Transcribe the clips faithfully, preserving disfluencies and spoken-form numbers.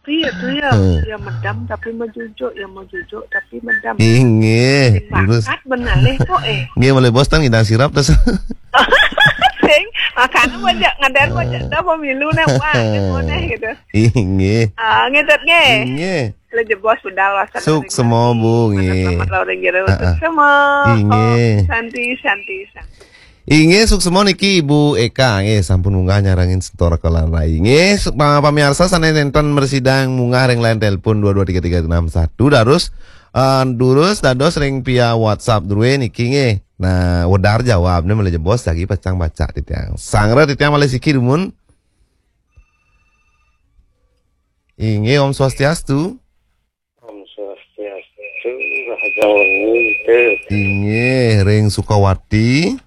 Tapi ya tu ya, Hmm. Ya medam tapi majujuk, ya majujuk tapi medam. Inggih, terus. Bakat benar leh kok eh. Nggih, malih bos tan ngidang sirap terus. Sing, makanya banyak ngadan banyak dah pemilu nih, wah, ini gitu. Inggih. Ah, ngitet nggih. Inggih. Malih jebos budal wasan. Suksma, Bu, nggih. Selamat lawan jero. Heeh. Suksma. Inggih. Santi, santi, santi. Inggih, suksma niki Ibu Eka nggih, sampun munggah nyarengin Setora Kelan Rai. Nggih, su- pa- pamiarsa sané nénten mresidang munggah ring line telepon dua dua tiga tiga enam satu, terus eh, durus dados ring via WhatsApp drué niki nggih. Nah, wedar jawabné malih jebos lagi pacang baca titiang. Sangra titiang malih siki dumun. Inggih, Om Swastiastu. Om Swastiastu, Rahaja Wengi itu. Inggih, ring Sukawati.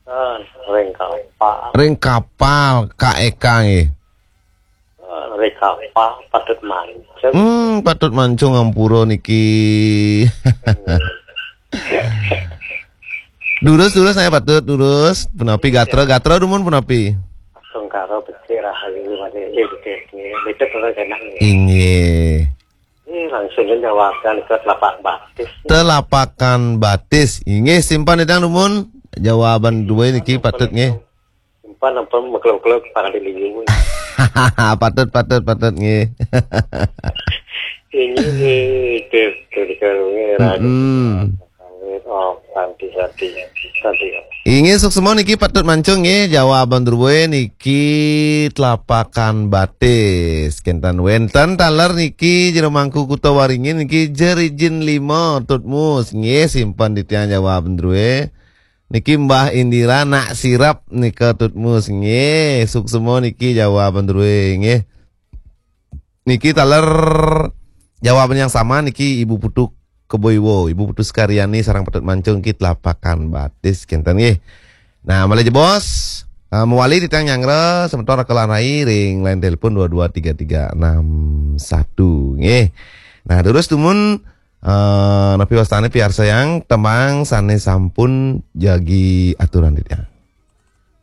Ah, ring kapal. Ring kapal Kak Eka nggih. Ah, ring kapal patut mancung. Hmm, patut mancung ampura niki. Durus, durus, saya patut durus. Punapi gatra, gatra dumun punapi. Sungkara becik rahayu mati becik becik. Itu terus enak nih. Inggih. Ini langsung jawabkan ke telapak batis. Telapakan batis. Inggih, simpan idang dumun. Jawaban dua niki patut nggih. Simpan apa meklok-klok para di liu. Patut, patut, patut nggih. Ini itu itu dikarungi rahayu. Hmm. Oh, santi santi santi. Inggih, suksma niki patut mancung nggih, jawaban drué niki telapakan batis. Kénten wénten taler niki Jero Mangku Kuta Waringin niki Jerijin lima Tutmus nggih, simpen titiang jawaban drué. Niki Mbah Indira nak sirap nika Tutmus nggih, suksma niki jawaban drué nggih. Niki taler jawaban yang sama niki Ibu Putu Keboiwo, Ibu Putu Sekaryani sareng patut mancung niki telapakan batis kénten nggih. Nah, malih jebos eh, mawali titiang nyanggra semeton Kelan Rai ring line telepon dua dua tiga tiga enam satu nggih. Nah, terus dumun eh, napi wastané piarsayang tembang sané sampun jagi aturan titiang.